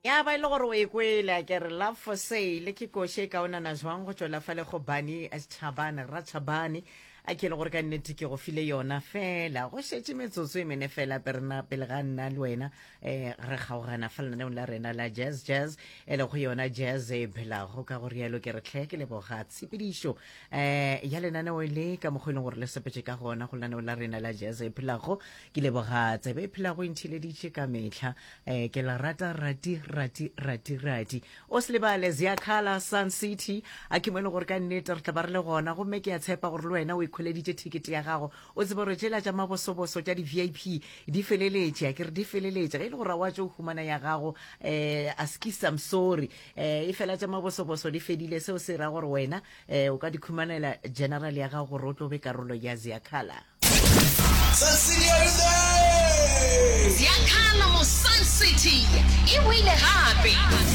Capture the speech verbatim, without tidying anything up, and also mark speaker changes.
Speaker 1: Ya ba e le gore o e kwele, a ke re Love for Sale ke koše e kaonana jwang go tšwela fale go Bani Chabane, Rathabane, a ke le gore ka nnete ke go file yona fela. Go šetše metsotso e mene fela perena pele ga nna le wena um re kgaogana fa lenaneong la rena la Jazz Jazz, e le go yona jazz e phelago. Ka go rialo ke re tlhe ke leboga tshepedišo um ya lenaneo le ka mokgwa e leng gore le sepetše ka gona go lenaneo la rena la Jazz e phelago. Ke leboga tsebe e phelago e nthileditše ka mehla. um ke la rata rati rati rati rati. O se lebale Ziakhala Sun City, a ke mo e leng gore ka nnete re tla ba re le gona, gomme ke a tshepa gore le wena o ikhweleditše thekete ya gago. O tsebe gore tšela tša mabosoboso tša di-V I P di feleletše, a ke re di feleletše. Ge e le gore wa tšo humana ya gago, um askis, I'm sorry, um e fela tša mabosoboso di fedile. Seo se ra gore wena um o ka di khumanela general ya gago gore o tlo be karolo ya Ziakhala.
Speaker 2: Sun City, are you there?
Speaker 3: Ziakhala mo Sun City e boile gape.